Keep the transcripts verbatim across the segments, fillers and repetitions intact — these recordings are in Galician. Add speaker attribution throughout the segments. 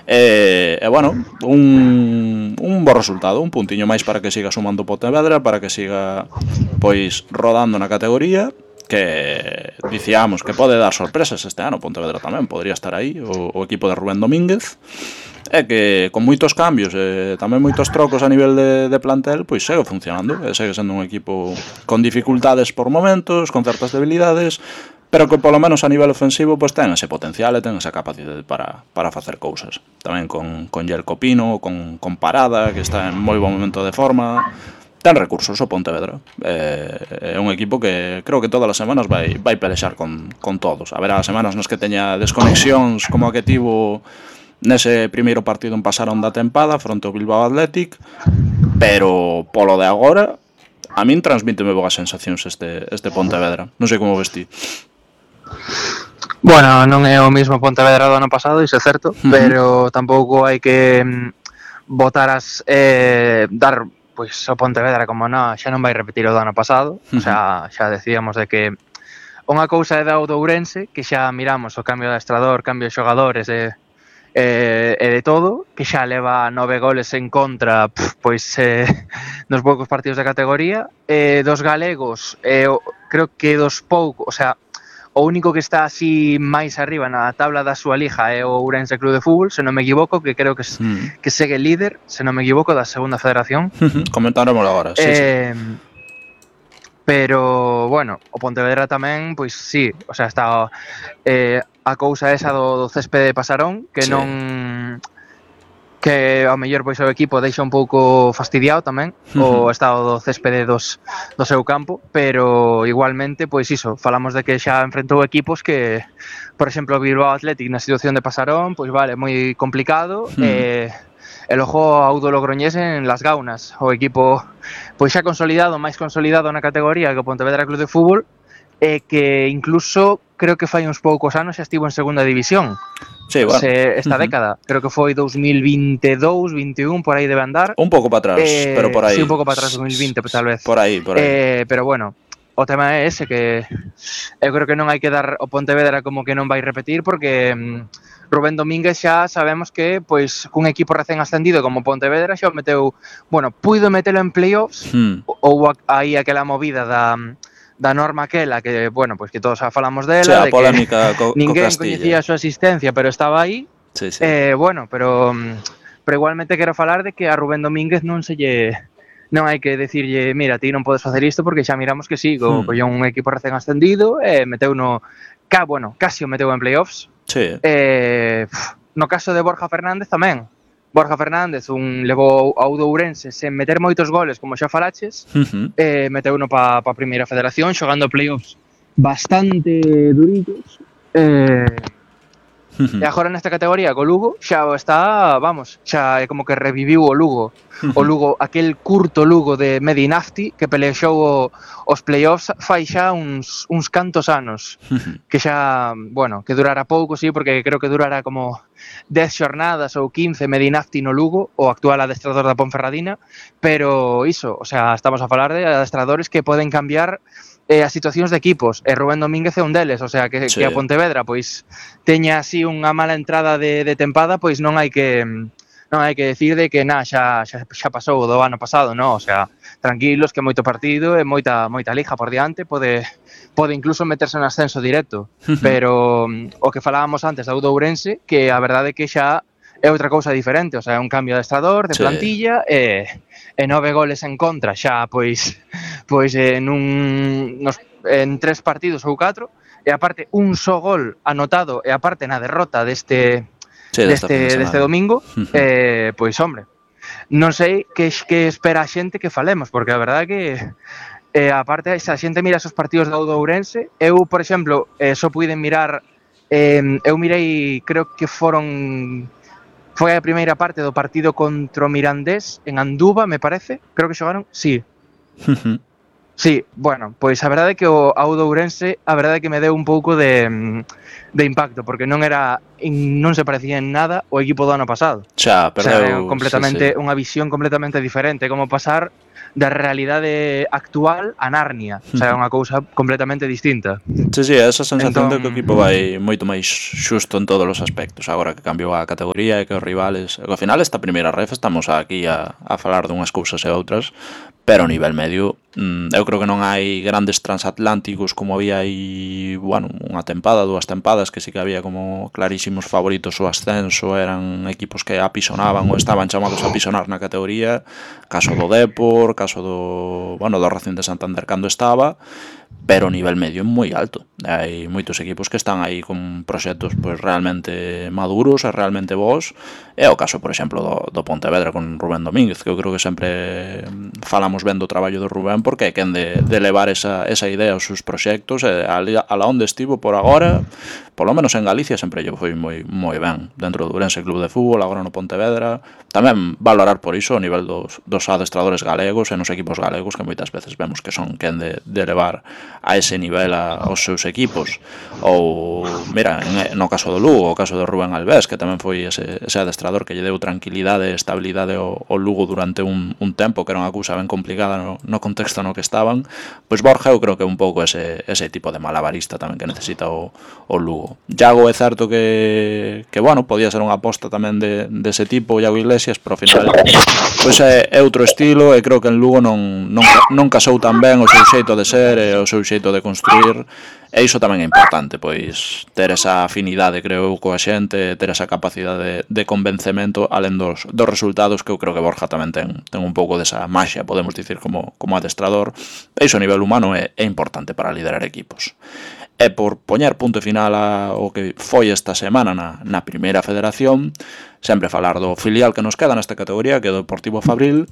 Speaker 1: E, e bueno, un, un bo resultado, un puntiño máis para que siga sumando Pontevedra, para que siga pois rodando na categoría, que dicíamos que pode dar sorpresas este ano. Pontevedra tamén podría estar aí, o, o equipo de Rubén Domínguez, e que con moitos cambios e tamén moitos trocos a nivel de, de plantel, pois segue funcionando, e segue sendo un equipo con dificultades por momentos, con certas debilidades, pero que polo menos a nivel ofensivo pois ten ese potencial e ten esa capacidade para, para facer cousas. Tamén con, con Jelko Pino, con, con Parada, que está en moi bon momento de forma. Ten recursos o Pontevedra. É, é un equipo que creo que todas as semanas vai, vai pelexar con, con todos. Haberá semanas nas que teña desconexións como a que tivo nese primeiro partido en Pasarón da tempada fronte ao Bilbao Athletic, pero polo de agora a min transmíteme boas sensacións este, este Pontevedra. Non sei como vestí.
Speaker 2: Bueno, non é o mismo Pontevedra do ano pasado, iso é certo, uh-huh. Pero tampouco hai que botar as eh, dar pois o Pontevedra como non, xa non vai repetir o do ano pasado, uh-huh. O sea, xa decíamos de que unha cousa é da o do Ourense, que xa miramos o cambio de adestrador, cambio de xogadores e e, e de todo, que xa leva nove goles en contra, pff, pois eh, nos poucos partidos de categoría, e dos galegos, eh, creo que dos poucos, o sea, o único que está así máis arriba na tabla da súa liga é o Ourense Club de Fútbol, se non me equivoco, que creo que, mm. que segue líder, se non me equivoco, da segunda federación.
Speaker 1: Comentaremos agora, sí,
Speaker 2: eh,
Speaker 1: sí.
Speaker 2: Pero, bueno, o Pontevedra tamén, pois sí, o sea, está eh, a cousa esa do, do céspede de Pasarón, que sí. non... que ao mellor pois o equipo deixa un pouco fastidiado tamén, uh-huh. O estado do céspede dos, do seu campo, pero igualmente, pois iso, falamos de que xa enfrentou equipos que, por exemplo, o Bilbao Athletic na situación de Pasarón, pois vale, moi complicado, uh-huh. e el ojo ao do Logroñés en Las Gaunas, o equipo pois xa consolidado, máis consolidado na categoría que o Pontevedra Club de Fútbol, e que incluso creo que fai uns poucos anos xa estivo en segunda división.
Speaker 1: Sí, bueno.
Speaker 2: Se, esta uh-huh. década, creo que foi dos mil veintidous, veintiún, por aí debe andar.
Speaker 1: Un pouco para atrás, eh, pero por aí.
Speaker 2: Sí, un pouco para atrás, dos mil vinte, tal vez.
Speaker 1: Por aí, por aí.
Speaker 2: Eh, pero bueno, o tema é ese, que eu creo que non hai que dar o Pontevedra como que non vai repetir, porque mm, Rubén Domínguez xa sabemos que, pois, cun equipo recén ascendido como Pontevedra xa o meteu, bueno, puido metelo en playoffs, hmm. ou aí aquela movida da... da norma aquela que, bueno, pois pues que todos xa falamos dela,
Speaker 1: sí, a
Speaker 2: de
Speaker 1: polémica
Speaker 2: que
Speaker 1: co,
Speaker 2: ninguén
Speaker 1: co
Speaker 2: coñecía a súa existencia, pero estaba aí.
Speaker 1: Sí, sí.
Speaker 2: Eh, bueno, pero pero igualmente quero falar de que a Rubén Domínguez non se lle non hai que decirlle, mira, ti non podes facer isto, porque xa miramos que sí, hmm. collou un equipo recén ascendido, e eh, meteu no ca, bueno, casi o meteu en playoffs.
Speaker 1: Sí.
Speaker 2: Eh, no caso de Borja Fernández tamén. Borja Fernández un levou ao do Ourense sen meter moitos goles, como xa falaches, uh-huh. eh, meteu uno pa, pa primeira federación, xogando playoffs bastante durillos, eh, uh-huh. e agora nesta categoría co Lugo xa está, vamos, xa é como que reviviu o Lugo, uh-huh. o Lugo, aquel curto Lugo de Medinafti que pelexou o, os playoffs fai xa uns, uns cantos anos, uh-huh. que xa, bueno, que durará pouco, sí, porque creo que durará como dez xornadas ou quince Medinafti no Lugo, o actual adestrador da Ponferradina, pero iso, o sea, estamos a falar de adestradores que poden cambiar eh, as situacións de equipos, e Rubén Domínguez é un deles, o sea, que, sí. que a Pontevedra pois teña así unha mala entrada de, de tempada, pois non hai que non hai que decir de que na, xa, xa, xa pasou o do ano pasado, non, o sea, tranquilos, que moito partido e moita moita liga por diante, pode pode incluso meterse en ascenso directo, pero o que falábamos antes da Ourense, que a verdade é que xa é outra cousa diferente, o sea, é un cambio de adestrador, de sí. plantilla, e, e nove goles en contra, xa, pois, pois en un, nos, en tres partidos ou catro, e aparte un só gol anotado, e aparte na derrota deste, sí, deste, deste domingo, uh-huh. eh, pois, hombre, non sei que, que espera a xente que falemos, porque a verdade é que Eh, aparte, se a xente mira esos partidos da Ourense, eu, por exemplo, eh, só puiden mirar, eh, eu mirei, creo que foron, foi a primeira parte do partido contra o Mirandés, en Anduva, me parece, creo que xogaron, sí. Uh-huh. Sí, bueno, pois a verdade é que o Ourense, a verdade é que me deu un pouco de, de impacto, porque non era, non se parecía en nada o equipo do ano pasado.
Speaker 1: Xa, perdeu,
Speaker 2: o sea, completamente,
Speaker 1: sí, sí.
Speaker 2: unha visión completamente diferente, como pasar da realidade actual a Narnia, o sea, é unha cousa completamente distinta.
Speaker 1: Sí, sí, esa sensación
Speaker 2: Entón-
Speaker 1: de que o equipo vai moito máis xusto en todos os aspectos, agora que cambiou a categoría e que os rivales, e que ao final esta primeira ref estamos aquí a, a falar dunhas cousas e outras, pero a nivel medio mm, eu creo que non hai grandes transatlánticos como había aí, bueno, unha tempada, dúas tempadas, que sí que había como clarísimos favoritos o ascenso, eran equipos que apisonaban ou estaban chamados a apisonar na categoría, caso do Depor, caso do, bueno, do Racing de Santander cando estaba, pero o nivel medio é moi alto. Hai moitos equipos que están aí con proxectos pois realmente maduros e realmente bons. É o caso, por exemplo, do, do Pontevedra con Rubén Domínguez, que eu creo que sempre falamos ben do traballo do Rubén, porque é quen de, de levar esa, esa idea aos seus proxectos, e a, a la onde estivo por agora, polo menos en Galicia sempre lle foi moi moi ben, dentro do Ourense Club de Fútbol, agora no Pontevedra. Tamén valorar por iso o nivel dos, dos adestradores galegos e nos equipos galegos, que moitas veces vemos que son quen de, de levar a ese nivel a, aos seus equipos. Ou, mira, en, no caso do Lugo, o caso do Rubén Albés, que tamén foi ese, ese adestrador que lle deu tranquilidade e estabilidade ao, ao Lugo durante un, un tempo, que era unha cousa ben complicada no, no contexto no que estaban. Pois Borja eu creo que é un pouco ese, ese tipo de malabarista tamén que necesita o, o Lugo. Iago é certo que, que bueno, podía ser unha aposta tamén de, de ese tipo, Iago Iglesias, pero ao final pois é, é outro estilo, e creo que en Lugo non, non, non casou tan ben o seu xeito de ser e o seu xeito de construir, e iso tamén é importante, pois ter esa afinidade, creo eu, coa xente, ter esa capacidade de, de convencemento, alén dos, dos resultados, que eu creo que Borja tamén ten, ten un pouco desa maxia, podemos dicir, como, como adestrador, e iso a nivel humano é, é importante para liderar equipos. E por poñer punto final ao que foi esta semana na, na primeira federación, sempre falar do filial que nos queda nesta categoría, que é o Deportivo Fabril,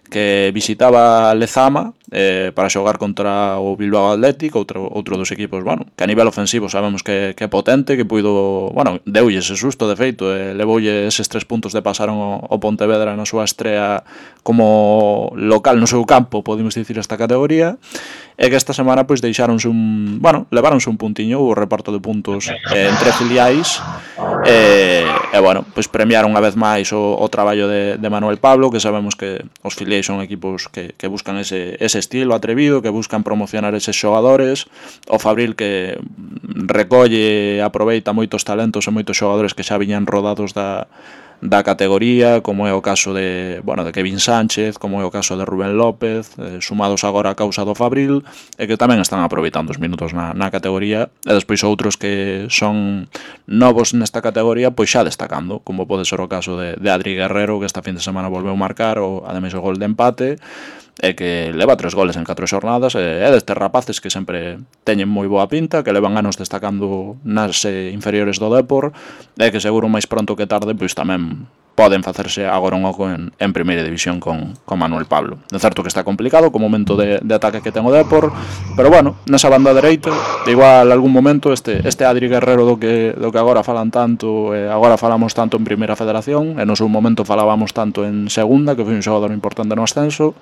Speaker 1: que visitaba Lezama eh, para xogar contra o Bilbao Athletic, outro, outro dos equipos, bueno, que a nivel ofensivo sabemos que, que é potente, que puido, bueno, deulle ese susto de feito, e levoulle eses tres puntos de pasaron o, o Pontevedra na súa estrea como local no seu campo, podemos dicir, esta categoría, e que esta semana pois deixáronse un, bueno, leváronse un puntiño, o reparto de puntos eh, entre filiais, e, e bueno, pois premiaron unha vez máis o, o traballo de, de Manuel Pablo, que sabemos que os filiais son equipos que, que buscan ese, ese estilo atrevido, que buscan promocionar eses xogadores, o Fabril que recolle e aproveita moitos talentos e moitos xogadores que xa viñan rodados da da categoría, como é o caso de, bueno, de Kevin Sánchez, como é o caso de Rubén López, eh, sumados agora a causa do Fabril, e que tamén están aproveitando os minutos na, na categoría, e despois outros que son novos nesta categoría, pois xa destacando, como pode ser o caso de, de Adri Guerrero, que esta fin de semana volveu marcar, o ademais o gol de empate, e que leva tres goles en catro xornadas, e é destes rapaces que sempre teñen moi boa pinta, que levan anos destacando nas eh, inferiores do Depor, e que seguro máis pronto que tarde pois tamén poden facerse agora un oco en, en primeira división con, con Manuel Pablo. É certo que está complicado co momento de, de ataque que ten o Depor, pero bueno, nesa banda dereita, igual algún momento este, este Adri Guerrero do que, do que agora falan tanto, e agora falamos tanto en primeira federación, e no seu momento falábamos tanto en segunda, que foi un xogador importante no ascenso,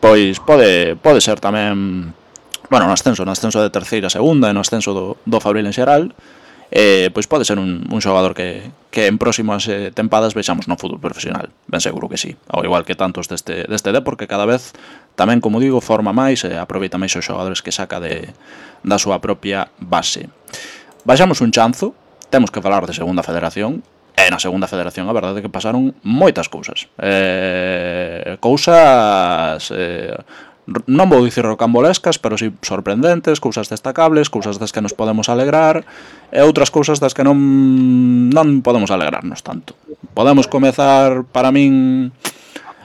Speaker 1: pois pode, pode ser tamén, bueno, no ascenso, no ascenso de terceira a segunda e no ascenso do, do Fabril en xeral, eh, pois pode ser un, un xogador que, que en próximas eh, tempadas vexamos no fútbol profesional, ben seguro que sí, ao igual que tantos deste, deste Depor, que cada vez tamén, como digo, forma máis e aproveita máis os xogadores que saca de, da súa propia base. Baixamos un chanzo, temos que falar de segunda federación. E na segunda federación a verdade é que pasaron moitas cousas, eh, cousas eh, non vou dicir rocambolescas, pero si sorprendentes, cousas destacables, cousas das que nos podemos alegrar, e outras cousas das que non non podemos alegrarnos tanto. Podemos comezar, para min,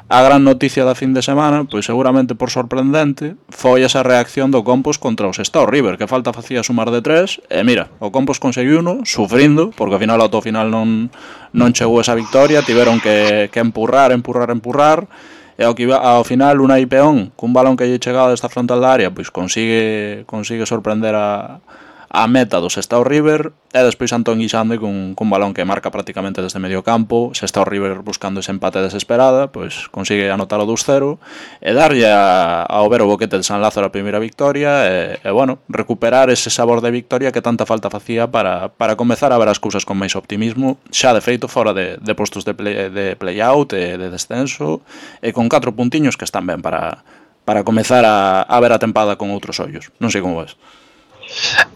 Speaker 1: a gran noticia da fin de semana, pois seguramente por sorprendente, foi esa reacción do Compos contra os Sestao River, que falta facía sumar de tres, e mira, o Compos conseguiu uno, sufrindo, porque ao final ao final non, non chegou esa victoria, tiveron que, que empurrar, empurrar, empurrar, e ao, que, ao final Unai Peón, cun balón que lle chegado desta frontal da área, pois consigue, consigue sorprender a a meta do Sestao River, e despois Antón Guisande cun, cun balón que marca prácticamente desde medio campo, Sestao River buscando ese empate desesperada, pois consigue anotar o dos cero e darlle a, ao ver o boquete de San Lázaro a primeira victoria e, e bueno, recuperar ese sabor de victoria que tanta falta facía para, para comezar a ver as cousas con máis optimismo, xa de feito fora de, de postos de, play, de play-out e de descenso, e con catro puntiños que están ben para para comezar a, a ver a tempada con outros ollos. Non sei como ves.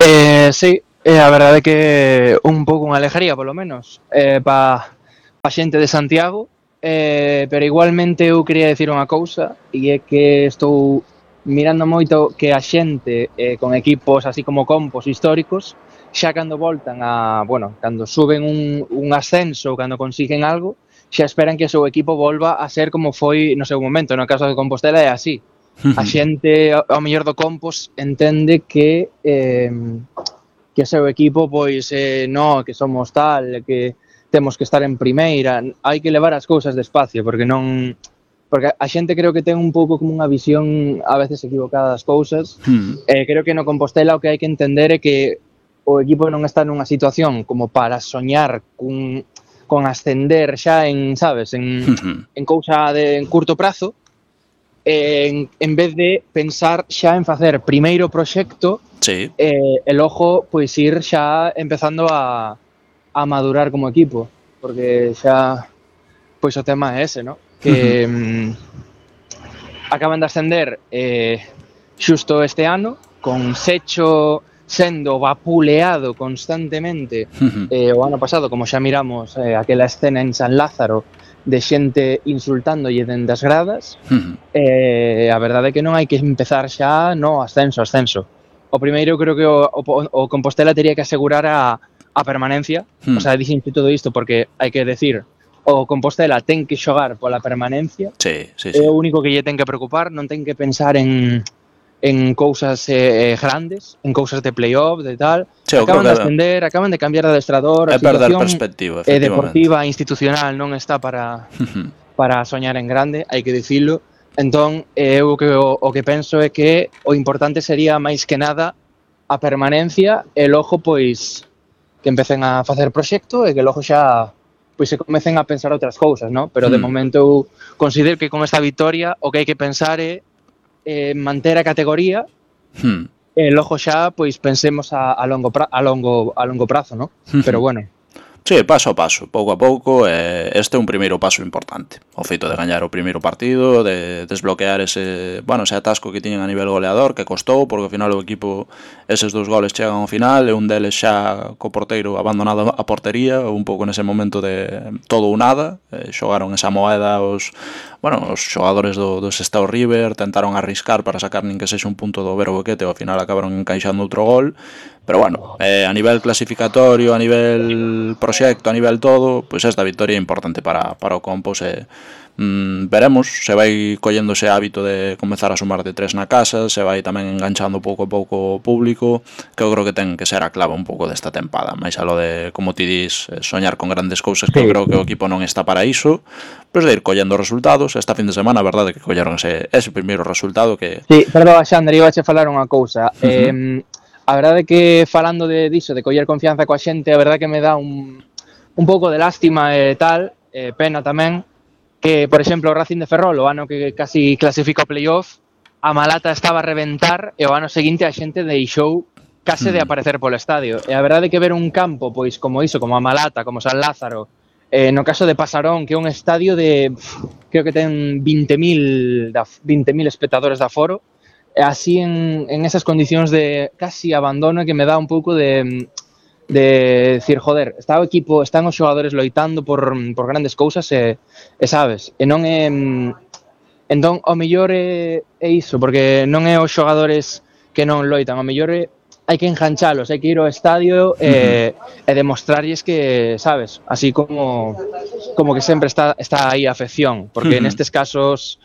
Speaker 2: Eh, sí, eh, a verdade é que un pouco unha alejaría, polo menos, eh, pa, pa xente de Santiago, eh, pero igualmente eu quería dicir unha cousa, e é que estou mirando moito que a xente eh, con equipos así como compos históricos, xa cando voltan a, bueno, cando suben un, un ascenso, cando consiguen algo, xa esperan que o seu equipo volva a ser como foi no seu momento. No caso de Compostela é así. A xente, ao mellor do Compos, entende que eh, que o seu equipo, pois, eh, no, que somos tal, que temos que estar en primeira. Hai que levar as cousas despacio, porque non... Porque a xente creo que ten un pouco como unha visión a veces equivocada das cousas. Mm. Eh, creo que no Compostela o que hai que entender é que o equipo non está nunha situación como para soñar cun, con ascender xa en, sabes, en, uh-huh. en cousa de en curto prazo, en, en vez de pensar xa en facer primeiro proxecto,
Speaker 1: sí.
Speaker 2: eh, e logo pois ir xa empezando a, a madurar como equipo, porque xa pois o tema é ese, ¿no? Que uh-huh. mm, acaban de ascender eh, xusto este ano, con Secho sendo vapuleado constantemente uh-huh. eh, o ano pasado, como xa miramos eh, aquela escena en San Lázaro de xente insultándolle dende as gradas, uh-huh. eh, a verdade é que non hai que empezar xa no ascenso, ascenso. O primeiro creo que o, o, o Compostela teria que asegurar a, a permanencia, uh-huh. o sea, dixente todo isto porque hai que decir, o Compostela ten que xogar pola permanencia,
Speaker 1: sí, sí, sí.
Speaker 2: É o único que lle ten que preocupar, non ten que pensar en en cousas eh, grandes, en cousas de playoff, de tal. Sí, acaban de ascender, acaban de cambiar de adestrador,
Speaker 1: a situación perspectiva,
Speaker 2: eh, deportiva, institucional non está para para soñar en grande, hai que dicilo. Entón, eu o que o, o que penso é que o importante sería máis que nada a permanencia e logo pois que empecen a facer proxecto e que logo xa pois se comecen a pensar outras cousas, ¿no? Pero de hmm. momento eu considero que con esta victoria o que hai que pensar é eh, manter a categoría hmm. e logo xa pois pensemos a, a longo pra, a longo a longo prazo, ¿no? Hmm. Pero bueno.
Speaker 1: Sí, paso a paso, pouco a pouco, eh, este é un primeiro paso importante. O feito de gañar o primeiro partido, de desbloquear ese, bueno, ese atasco que tiñen a nivel goleador, que costou, porque ao final o equipo, eses dous goles chegan ao final, e un deles xa co porteiro abandonado a portería, un pouco nese momento de todo ou nada, eh, xogaron esa moeda os, bueno, os xogadores do, do Sestao River, tentaron arriscar para sacar nin que sexa un punto do Vero Boquete, e ao final acabaron encaixando outro gol. Pero bueno, eh, a nivel clasificatorio, a nivel proxecto, a nivel todo, pois esta victoria é importante para, para o Compos e mm, veremos se vai collendo ese hábito de comezar a sumar de tres na casa, se vai tamén enganchando pouco a pouco o público, que eu creo que ten que ser a clave un pouco desta tempada, máis a lo de, como ti dis, soñar con grandes cousas, que sí. Eu creo que o equipo non está para iso, pois de ir collendo resultados. Esta fin de semana, a verdade que colleron ese, ese primeiro resultado que...
Speaker 2: Sí, perdón, Xander, iba a che falar unha cousa. Uh-huh. Eh, A verdade é que falando de diso, de coller confianza coa xente, a verdade que me dá un, un pouco de lástima e tal, eh, pena tamén, que, por exemplo, o Racing de Ferrol, o ano que casi clasifica o playoff, a Malata estaba a reventar e o ano seguinte a xente deixou case de aparecer polo estadio. E a verdade é que ver un campo, pois, como iso, como a Malata, como San Lázaro, eh, no caso de Pasarón, que é un estadio de, creo que ten vinte mil espectadores de aforo, así en, en esas condicións de casi abandono que me dá un pouco de, de decir, joder, está o equipo, están os xogadores loitando por, por grandes cousas e, e sabes, e non é entón, o mellor é, é iso, porque non é os xogadores que non loitan, o mellor é hai que enganchalos, hai que ir ao estadio e, uh-huh. e demostrarlles que, sabes, así como como que sempre está, está aí a afección, porque uh-huh. nestes casos,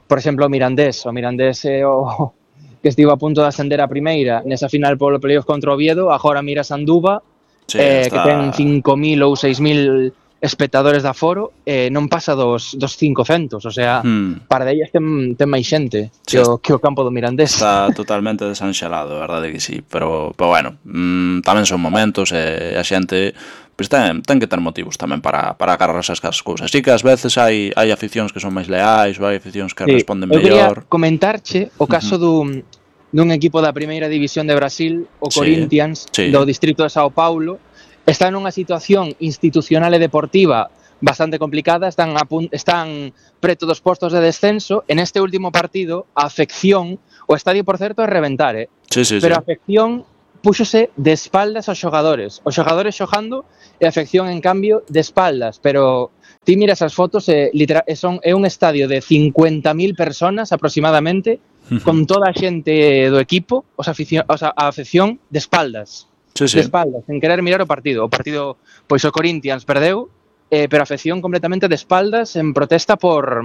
Speaker 2: por exemplo, o Mirandés, o Mirandés é o que estivo a punto de ascender a primeira nesa final polo playoff contra o Oviedo, agora mira Sanduba, sí, eh, está... que ten cinco mil ou seis mil espectadores de aforo, eh, non pasa dos, dos cincocentos, o sea, hmm. para de ellas ten, ten máis xente sí, que, o, que o campo do Mirandés.
Speaker 1: Está totalmente desanxelado, verdade que sí, pero, pero bueno, mmm, tamén son momentos e a xente pois ten, ten que ter motivos tamén para, para agarrarse as cousas. Así que ás veces hai, hai aficións que son máis leais ou hai aficións que sí, responden mellor.
Speaker 2: Eu quería comentarche o caso uh-huh. dun, dun equipo da primeira división de Brasil, o sí, Corinthians, sí. do distrito de Sao Paulo, está nunha situación institucional e deportiva bastante complicada, están a pun- están preto dos postos de descenso. En este último partido, a afección, o estadio, por certo, é reventar, eh?
Speaker 1: Sí, sí,
Speaker 2: Pero
Speaker 1: sí.
Speaker 2: a afección púxose de espaldas aos xogadores. Os xogadores xogando e a afección, en cambio, de espaldas. Pero ti miras as fotos e, literal, e son, é un estadio de cincuenta mil personas aproximadamente, con toda a xente do equipo, os aficio, os a, a afección de espaldas.
Speaker 1: Sí,
Speaker 2: De
Speaker 1: sí.
Speaker 2: espaldas, sen querer mirar o partido. O partido, pois o Corinthians perdeu, eh, pero a afección completamente de espaldas en protesta por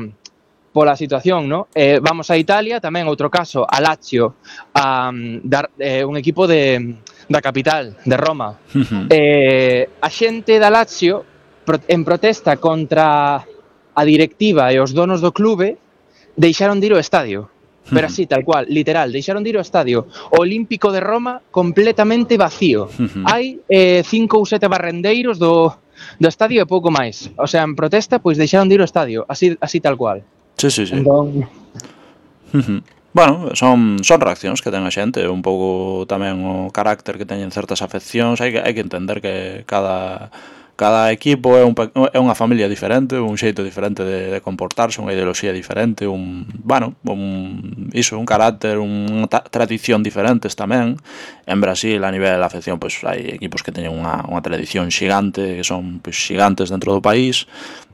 Speaker 2: pola situación, ¿no? Eh, vamos a Italia, tamén outro caso, a Lazio, a, dar, eh, un equipo de, da capital, de Roma.
Speaker 1: Ujú.
Speaker 2: Eh, a xente da Lazio, pro, en protesta contra a directiva e os donos do clube, deixaron de ir ao estadio. Pero así, tal cual, literal, deixaron de ir ao estadio Olímpico de Roma completamente vacío.
Speaker 1: Ujú.
Speaker 2: Hai eh, cinco ou sete barrendeiros do, do estadio e pouco máis. O sea, en protesta, pois deixaron de ir ao estadio, así, así tal cual.
Speaker 1: Sí, sí, sí.
Speaker 2: Entón,
Speaker 1: Ujú. Bueno, son, son reaccións que ten a xente, un pouco tamén o carácter que teñen certas afeccións, hai que, hai que entender que cada, cada equipo é, un, pe- é unha familia diferente, un xeito diferente de, de comportarse, unha ideoloxía diferente, un, bueno, un, iso, un carácter, unha ta- tradición diferentes tamén. En Brasil, a nivel de afección, pois hai equipos que teñen unha, unha tradición xigante, que son pois, xigantes dentro do país.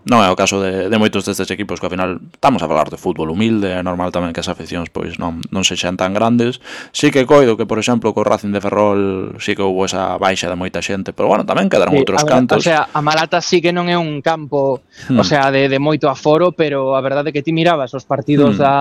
Speaker 1: Non é o caso de, de moitos destes equipos que ao final estamos a falar de fútbol humilde, é normal tamén que as afeccións pois non, non sexan tan grandes. Sí que coido que, por exemplo, co Racing de Ferrol sí que houbo esa baixa de moita xente, pero bueno, tamén quedaron
Speaker 2: sí,
Speaker 1: outros
Speaker 2: a ver,
Speaker 1: cantos.
Speaker 2: o sea, a Malata sí que non é un campo,
Speaker 1: Hmm.
Speaker 2: o sea, de, de moito aforo, pero a verdade é que ti mirabas os partidos
Speaker 1: Hmm.
Speaker 2: da,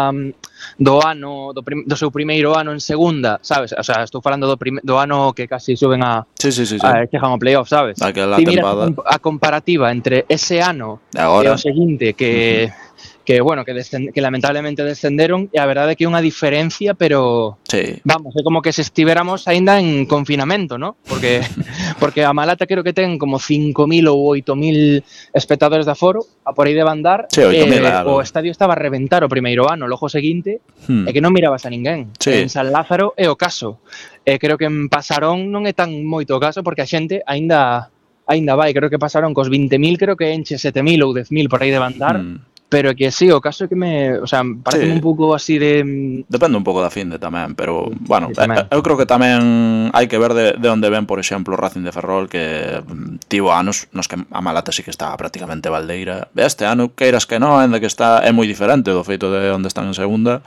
Speaker 2: do ano, do, prim, do seu primeiro ano en segunda, sabes? O sea, estou falando do, prim, do ano que casi suben a,
Speaker 1: Sí, sí, sí, sí.
Speaker 2: a chegan ao playoff, sabes?
Speaker 1: Aquela
Speaker 2: Ti miras a,
Speaker 1: tempada.
Speaker 2: comp- a comparativa entre ese ano
Speaker 1: E agora.
Speaker 2: e o seguinte, que, que bueno, que, descend, que lamentablemente descenderon, e a verdade é que é unha diferencia, pero
Speaker 1: Sí.
Speaker 2: vamos, é como que se estiveramos aínda en confinamento, ¿no? Porque porque a Malata creo que ten como cinco mil ou oito mil espectadores de aforo, a por aí de andar.
Speaker 1: Sí, oito mil
Speaker 2: eh,
Speaker 1: é algo.
Speaker 2: o estadio estaba a reventar o primeiro ano, logo seguinte,
Speaker 1: Hmm.
Speaker 2: é que non mirabas a ninguén.
Speaker 1: Sí.
Speaker 2: En San Lázaro é o caso. E creo que en Pasarón non é tan moito o caso porque a xente aínda aínda vai, creo que Pasarón cos vinte mil, creo que enche sete mil ou dez mil por aí de andar.
Speaker 1: Hmm.
Speaker 2: Pero que sí, o caso é que me, o sea, parece
Speaker 1: Sí.
Speaker 2: un pouco así de
Speaker 1: Depende un pouco da finde tamén, pero,
Speaker 2: Sí,
Speaker 1: bueno,
Speaker 2: sí, tamén.
Speaker 1: eh, eu creo que tamén hai que ver de, de onde ven, por exemplo, o Racing de Ferrol, que mm, tivo anos nos que a Malata sí que estaba prácticamente baldeira. Este ano, queiras que non, ainda que está é moi diferente do feito de onde están en segunda,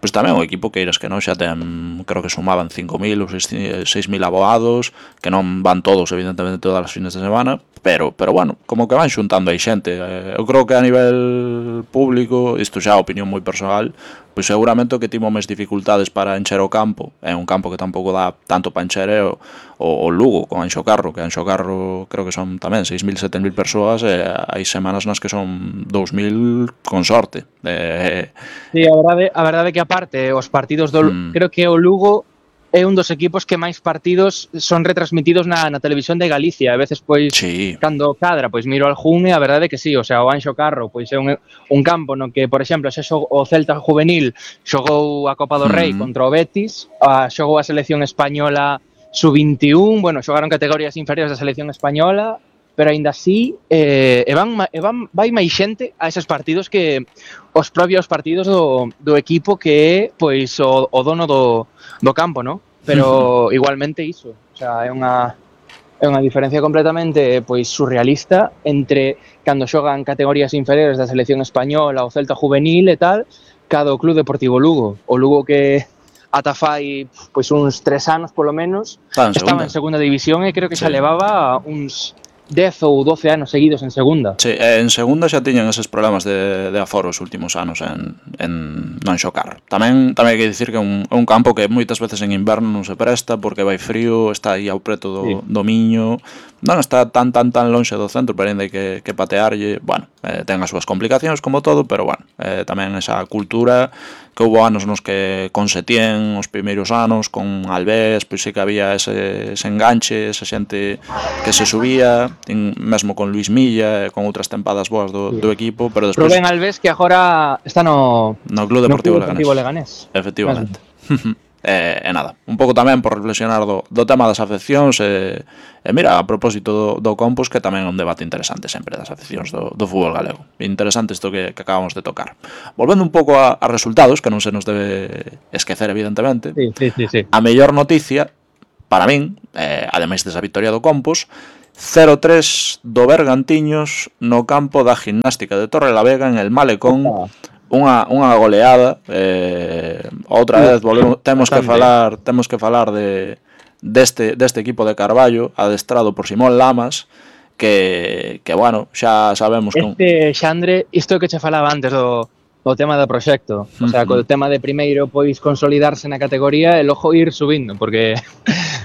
Speaker 1: pois tamén o equipo, queiras que non, xa ten, creo que sumaban cinco mil ou seis mil abogados, que non van todos, evidentemente, todas as fines de semana, pero, pero bueno, como que van xuntando aí xente. Eh, Eu creo que a nivel público, isto xa é opinión moi personal, pois seguramente o que tivo máis dificultades para encher o campo, é un campo que tampouco dá tanto para encher, é o, o, o Lugo, con Anxo Carro, que Anxo Carro creo que son tamén seis mil, sete mil persoas, e hai semanas nas que son dous mil con sorte. Eh,
Speaker 2: Sí, a verdade, a verdade é que aparte os partidos do
Speaker 1: Mm.
Speaker 2: creo que o Lugo é un dos equipos que máis partidos son retransmitidos na, na televisión de Galicia. A veces, pois,
Speaker 1: Sí.
Speaker 2: cando cadra, pois miro al Jun e a verdade é que sí, o sea, o Anxo Carro, pois é un, un campo no que, por exemplo, se xo, o Celta juvenil xogou a Copa do Rei
Speaker 1: Mm.
Speaker 2: contra o Betis, a, xogou a selección española sub veintiún, bueno, xogaron categorías inferiores da selección española, pero aínda así eh, e van, ma- e van, vai máis xente a eses partidos que os propios partidos do, do equipo que é pois o, o dono do, do campo, ¿no? Pero igualmente iso, o sea, é unha é unha diferencia completamente pois surrealista entre cando xogan categorías inferiores da selección española, o Celta juvenil e tal, cada o Club Deportivo Lugo, o Lugo que ata fai pois uns tres anos polo menos
Speaker 1: Estaba en
Speaker 2: estaba
Speaker 1: segunda.
Speaker 2: en segunda división e creo que xa
Speaker 1: Sí.
Speaker 2: levaba uns dez ou doce anos seguidos en segunda.
Speaker 1: Sí, e en segunda xa tiñan eses problemas de, de aforo os últimos anos en, en non xocar. Tamén tamén hai que dicir que é un, é un campo que moitas veces en inverno non se presta porque vai frío, está aí ao preto do,
Speaker 2: Sí.
Speaker 1: do Miño, non está tan tan tan lonxe do centro, pero ainda hai que, que patearlle. Bueno, eh, ten as súas complicacións como todo, pero bueno, eh, tamén esa cultura que houve anos nos que con Setién, os primeiros anos, con Alvés, pois sí que había ese, ese enganche, esa xente que se subía, en, mesmo con Luis Milla, con outras tempadas boas do, do equipo, pero despois
Speaker 2: Rubén Alves que agora está no
Speaker 1: no Club
Speaker 2: no
Speaker 1: Deportivo
Speaker 2: Club Deportivo
Speaker 1: Leganés.
Speaker 2: Leganés.
Speaker 1: Efectivamente. E, e nada, un pouco tamén por reflexionar do, do tema das afeccións e, e mira, a propósito do, do Compos, que tamén é un debate interesante sempre das afeccións do, do fútbol galego. Interesante isto que, que acabamos de tocar. Volvendo un pouco a, a resultados, que non se nos debe esquecer evidentemente,
Speaker 2: sí, sí, sí, sí.
Speaker 1: A mellor noticia para min, eh, ademais desa victoria do Compos, cero tres do Bergantiños no campo da Gimnástica de Torrelavega en el Malecón. Opa. Unha, unha goleada, eh, outra vez volvemos, temos que falar, temos que falar de deste deste equipo de Carballo, adestrado por Simón Lamas, que que bueno, xa sabemos que
Speaker 2: este Xandre, isto que che falaba antes do do tema do proxecto, o sea, co tema de primeiro pois consolidarse na categoría e logo ir subindo, porque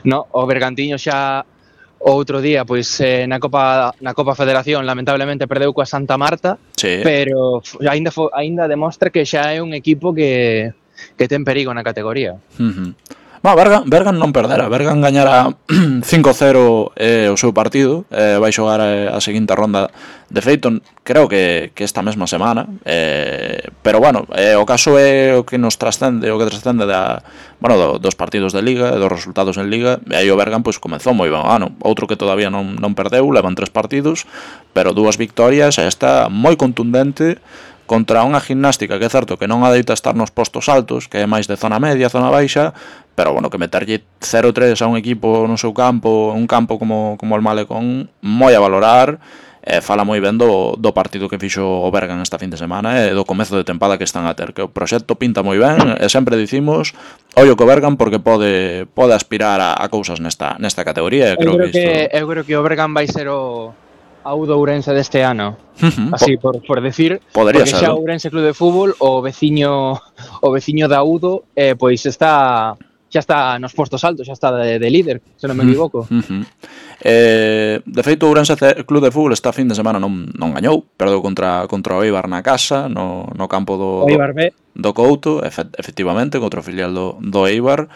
Speaker 2: no, o Bergantiño xa outro día, pois eh, na Copa na Copa Federación lamentablemente perdeu coa Santa Marta,
Speaker 1: sí.
Speaker 2: Pero aínda fo, aínda demostra que xa é un equipo que que ten perigo na categoría.
Speaker 1: Uh -huh. No, Bergan, Bergan non perdera, Bergan gañara cinco cero eh, o seu partido, eh, vai xogar a, a seguinte ronda de feito, creo que, que esta mesma semana, eh, pero bueno, eh, o caso é o que nos trascende, o que trascende da, bueno, do, dos partidos de Liga, dos resultados en Liga, e aí o Bergan pois comezou moi ben o ano, outro que todavía non, non perdeu, levan tres partidos, pero dúas victorias, e esta moi contundente, contra unha Gimnástica que é certo que non adeita estar nos postos altos, que é máis de zona media, zona baixa, pero bueno, que meterlle cero tres a un equipo no seu campo, un campo como, como o Malecón, moi a valorar, e fala moi ben do, do partido que fixo o Bergan esta fin de semana e do comezo de tempada que están a ter, que o proxecto pinta moi ben, e sempre dicimos ollo co Bergan porque pode pode aspirar a, a cousas nesta nesta categoría, e creo,
Speaker 2: eu creo
Speaker 1: que,
Speaker 2: que,
Speaker 1: isto...
Speaker 2: eu creo que o Bergan vai ser o a U do Ourense deste ano.
Speaker 1: Uh-huh.
Speaker 2: Así por, por decir,
Speaker 1: podría
Speaker 2: porque
Speaker 1: ser,
Speaker 2: xa o Ourense Club de Fútbol, o veciño o veciño da Udo, eh, pois está xa está nos postos altos, xa está de, de líder, se non me equivoco.
Speaker 1: Uh-huh. Eh, de feito, o Ourense Club de Fútbol esta fin de semana non, non gañou, perdeu contra, contra o Eibar na casa, no, no campo do,
Speaker 2: o Eibar B.
Speaker 1: do, do Couto, efectivamente, contra o filial do, do Eibar.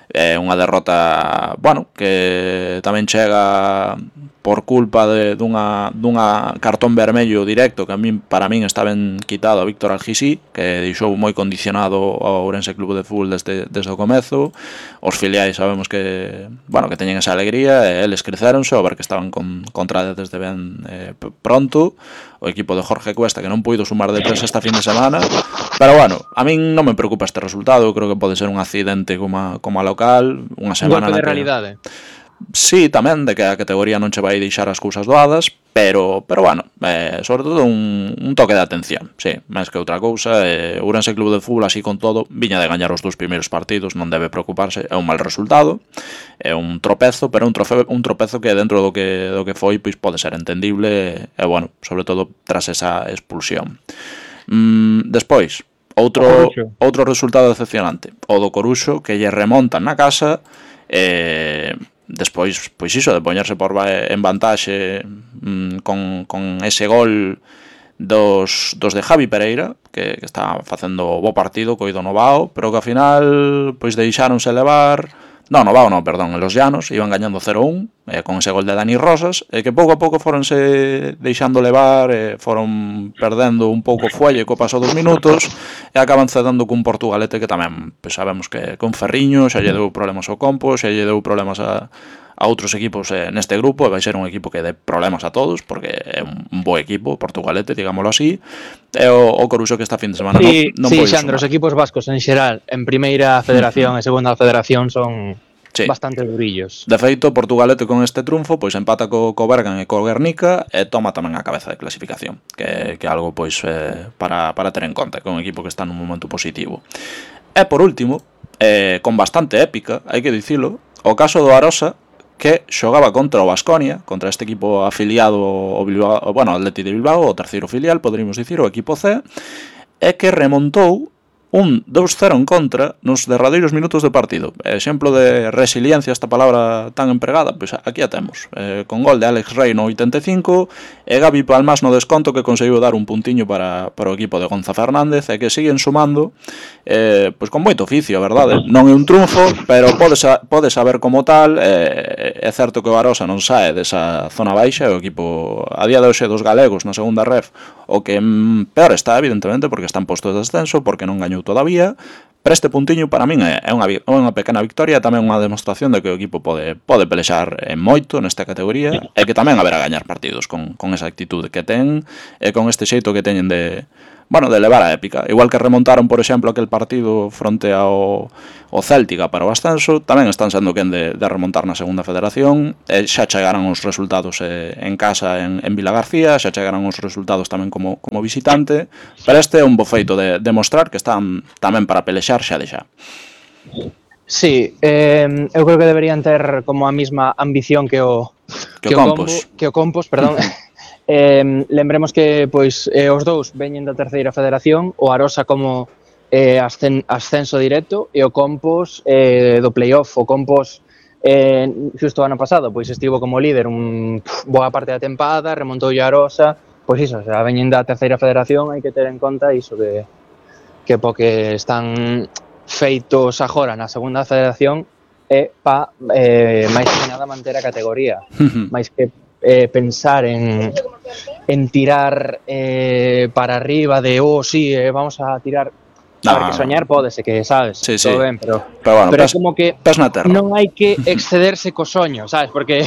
Speaker 1: É unha derrota, bueno, que tamén chega por culpa de, dunha, dunha cartón vermello directo que a min, para min está ben quitado a Víctor Algisí, que deixou moi condicionado ao Ourense Club de Fútbol desde, desde o comezo. Os filiais sabemos que, bueno, que teñen esa alegría, e eles creceronse ao ver que estaban con, contra desde ben eh, pronto. O equipo de Jorge Cuesta, que non puido sumar de tres esta fin de semana, pero bueno, a min non me preocupa este resultado, creo que pode ser un accidente como a, como a local, unha semana
Speaker 2: un golpe de
Speaker 1: que...
Speaker 2: realidade.
Speaker 1: Sí, tamén, de que a categoría non che vai deixar as cousas doadas, pero, pero bueno, eh, sobre todo un, un toque de atención, sí, máis que outra cousa. eh, Ourense Club de Fútbol, así con todo, viña de gañar os dous primeiros partidos, non debe preocuparse, é un mal resultado, é un tropezo, pero un, trofe, un tropezo que dentro do que, do que foi, pois pode ser entendible, e bueno, sobre todo tras esa expulsión. Mm, despois, outro, outro resultado decepcionante, o do Coruxo, que lle remontan na casa, e... despois, pois iso, de poñerse por en vantaxe mmm, con, con ese gol dos, dos de Javi Pereira, que, que está facendo bo partido, coido no Bao, pero que ao final pois deixáronse levar. No, no Bao non, perdón, en Los Llanos iban gañando cero un, eh, con ese gol de Dani Rosas, e que pouco a pouco foronse deixando levar, eh, foron perdendo un pouco fuelle co paso dos minutos, e acaban cedendo cun Portugalete que tamén, pues, sabemos que con Ferriño xa lle deu problemas ao Compo, xa lle deu problemas a, a outros equipos eh, neste grupo, e vai ser un equipo que dé problemas a todos, porque é un, un bo equipo, Portugalete, digámoslo así, e o, o Coruxo que esta fin de semana
Speaker 2: sí,
Speaker 1: non, non
Speaker 2: sí,
Speaker 1: pode
Speaker 2: Xandro, os equipos vascos en xeral, en primeira federación e segunda federación son... Sí. Bastante durillos.
Speaker 1: De feito, Portugalete con este triunfo pois empata co, co Bergan e co Guernica e toma tamén a cabeza de clasificación, que que algo pois eh, para, para ter en conta, que é un equipo que está nun momento positivo. E por último, eh, con bastante épica, hai que dicilo, o caso do Arosa, que xogaba contra o Baskonia, contra este equipo afiliado ao Bilbao, bueno, Atleti de Bilbao, o terceiro filial, poderíamos dicir, o equipo C, e que remontou un dous cero en contra nos derradeiros minutos do partido. Exemplo de resiliencia, esta palabra tan empregada, pois aquí a temos, eh, con gol de Alex Rey no oitenta e cinco e Gabi Palmas no desconto, que conseguiu dar un puntiño para, para o equipo de Gonza Fernández, e que siguen sumando eh, pois con moito oficio, a verdade. Non é un triunfo, pero pode, pode saber como tal. eh, é certo que o Arosa non sae desa zona baixa, o equipo a día de hoxe dos galegos na segunda ref o que mm, peor está, evidentemente, porque están postos de descenso, porque non gañou todavía, Pero este puntiño para min é unha, unha pequena victoria, tamén unha demostración de que o equipo pode, pode pelexar en moito nesta categoría e que tamén haberá gañar partidos con, con esa actitude que ten e con este xeito que teñen de, bueno, de levar a épica. Igual que remontaron, por exemplo, aquel partido fronte ao, ao Céltica para o ascenso, tamén están sendo quen de, de remontar na segunda federación e xa chegaran os resultados eh, en casa en, en Vila García, xa chegaran os resultados tamén como, como visitante, pero este é un bo feito de demostrar que están tamén para pelexar xa de xa.
Speaker 2: Sí, eh, eu creo que deberían ter como a mesma ambición que o
Speaker 1: que, que o Compos,
Speaker 2: combo, que o Compos, perdón. eh, lembremos que pois eh, os dous veñen da terceira federación, o Arosa como eh, ascen, ascenso directo e o Compos eh, do playoff. O Compos eh, xusto o ano pasado pois estivo como líder un pff, boa parte da tempada, remontou a Arosa, pois iso, o sea, veñen da terceira federación, hai que ter en conta iso que que porque están feitos agora na segunda federación é pa eh, máis que nada manter a categoría, máis que eh, pensar en, en tirar eh, para arriba de, oh, sí, eh, vamos a tirar, no, a ver, que soñar pódese, que sabes,
Speaker 1: sí,
Speaker 2: todo
Speaker 1: sí.
Speaker 2: ben, pero,
Speaker 1: pero, bueno,
Speaker 2: pero
Speaker 1: pes,
Speaker 2: é como que non hai que excederse co soño, sabes, porque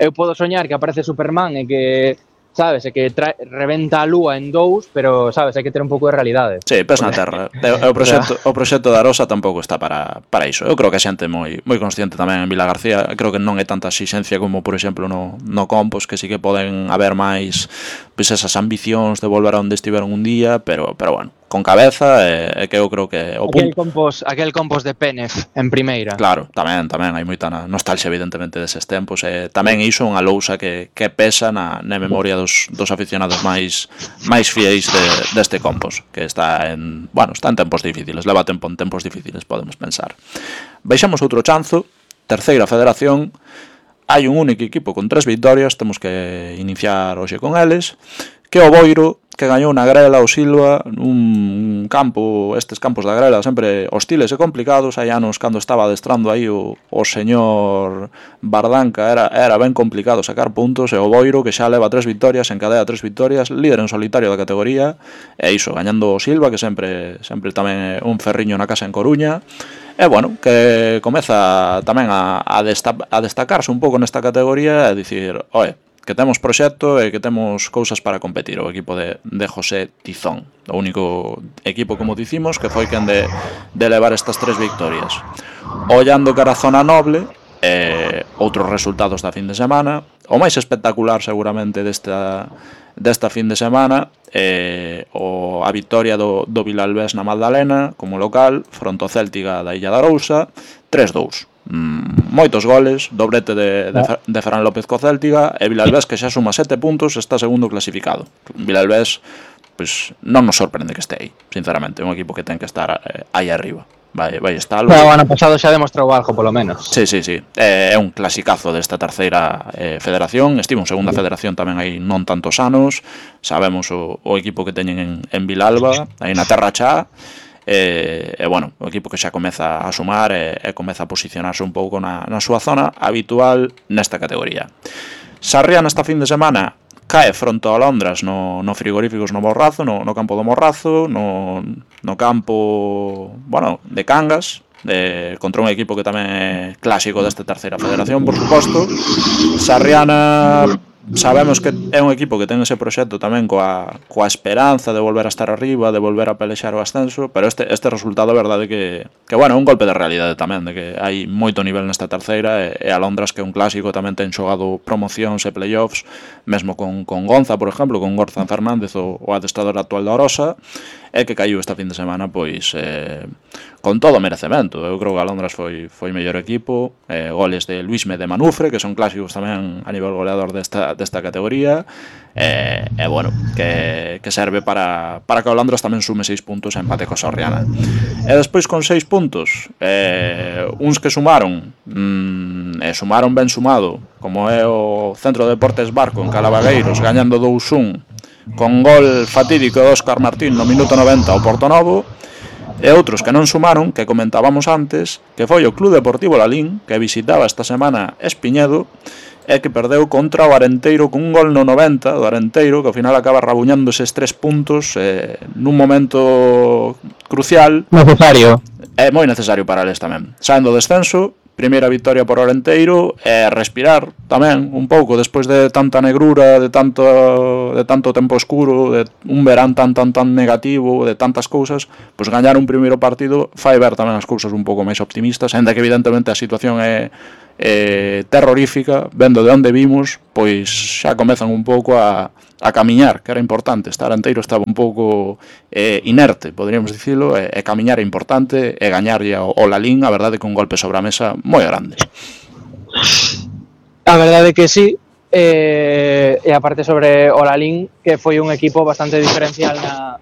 Speaker 2: eu podo soñar que aparece Superman e que sabes, é que trae, reventa a lúa en dous, pero, sabes, hai que ter un pouco de realidade.
Speaker 1: Sí, pes na terra. O proxecto, o proxecto da Arosa tampouco está para, para iso. Eu creo que a xente moi moi consciente tamén en Vila García. Creo que non é tanta exixencia como, por exemplo, no, no Compos, que sí que poden haber máis pois esas ambicións de volver a onde estiveron un día, pero, pero bueno, con cabeza, e, e que eu creo que o
Speaker 2: aquel compos, aquel compos de Penef en primeira.
Speaker 1: Claro, tamén, tamén hai moita nostalgia evidentemente deses tempos, e tamén iso unha lousa que, que pesa na, na memoria dos, dos aficionados máis máis fieis de, deste Compos, que está en, bueno, está en tempos difíciles, leva tempo en tempos difíciles, podemos pensar. Baixamos outro chanzo, terceira federación. Hai un único equipo con tres vitorias, temos que iniciar hoxe con eles, que o Boiro, que gañou na Grela o Silva, un campo, estes campos da Grela sempre hostiles e complicados. Hai anos cando estaba adestrando aí o, o señor Bardanca era, era ben complicado sacar puntos, e o Boiro, que xa leva tres vitorias, encadea tres vitorias, líder en solitario da categoría, e iso, gañando o Silva, que sempre sempre tamén é un ferriño na casa en Coruña. E, bueno, que comeza tamén a, a, desta, a destacarse un pouco nesta categoría e dicir, oe, que temos proxecto e que temos cousas para competir. O equipo de, de José Tizón, o único equipo, como dicimos, que foi quen de, de levar estas tres victorias. Ollando cara a zona noble, eh, outros resultados da fin de semana. O máis espectacular, seguramente, desta, desta fin de semana, eh, o, a victoria do, do Vilalbés na Magdalena como local, fronte ao Céltica da Illa da Arousa, tres dous. Mm, moitos goles, doblete de, de, de Ferran López co Céltica, e Vilalbés, que xa suma sete puntos, está segundo clasificado. Vilalbés, pois, non nos sorprende que este aí, sinceramente, é un equipo que ten que estar eh, aí arriba. Vai, vai estar.
Speaker 2: Pero o ano pasado xa demostrou algo, polo menos.
Speaker 1: Sí, sí, sí. É, é un clasicazo desta terceira eh, federación. Estivo en segunda federación tamén hai non tantos anos. Sabemos o, o equipo que teñen en, en Vilalba, aí na Terra Chá. E, e, bueno, o equipo que xa comeza a sumar e, e comeza a posicionarse un pouco na, na súa zona habitual nesta categoría. Sarriá nesta fin de semana cae fronte ao Londras no, no frigoríficos no Morrazo, no, no campo do Morrazo, no, no campo, bueno, de Cangas, de, contra un equipo que tamén é clásico desta terceira federación, por suposto. Sarriana, sabemos que é un equipo que ten ese proxecto tamén coa, coa esperanza de volver a estar arriba, de volver a pelexar o ascenso, pero este, este resultado é verdade que, que, bueno, é un golpe de realidade tamén, de que hai moito nivel nesta terceira, e, e a Londras, que é un clásico, tamén ten xogado promocións e playoffs, mesmo con, con Gonza, por exemplo, con Gorzan Fernández, o, o adestrador actual da Orosa, e que caiu esta fin de semana, pois, eh, con todo merecemento. Eu creo que a Londras foi, foi mellor equipo, eh, goles de Luisme de Manufre, que son clásicos tamén a nivel goleador desta, desta categoría, e, e bueno, que, que serve para, para que o Londras tamén sume seis puntos a empate co Sorriana. E despois con seis puntos, eh, uns que sumaron, mm, e sumaron ben sumado, como é o Centro de Deportes Barco en Calavagueiros, gañando dous un, con gol fatídico de Óscar Martín no minuto noventa ao Portonovo, e outros que non sumaron, que comentábamos antes, que foi o Club Deportivo Lalín, que visitaba esta semana Espiñedo, é que perdeu contra o Arenteiro cun gol no noventa do Arenteiro, que ao final acaba rabuñando eses tres puntos eh, nun momento crucial.
Speaker 3: Necesario.
Speaker 1: É moi necesario para eles tamén. Saen do descenso, primeira victoria por Arenteiro, e respirar tamén un pouco despois de tanta negrura, de tanto de tanto tempo escuro, de un verán tan tan tan negativo, de tantas cousas, pois gañar un primeiro partido fai ver tamén as cousas un pouco máis optimistas, ainda que evidentemente a situación é Eh, terrorífica, vendo de onde vimos, pois xa comezan un pouco a, a camiñar, que era importante. Estar Arenteiro estaba un pouco eh, inerte, poderíamos dicilo, e, e camiñar é importante, e gañarlle ao, ao Lalín, a verdade, que un golpe sobre a mesa moi grande.
Speaker 2: A verdade que sí, eh, e aparte sobre o Lalín, que foi un equipo bastante diferencial na,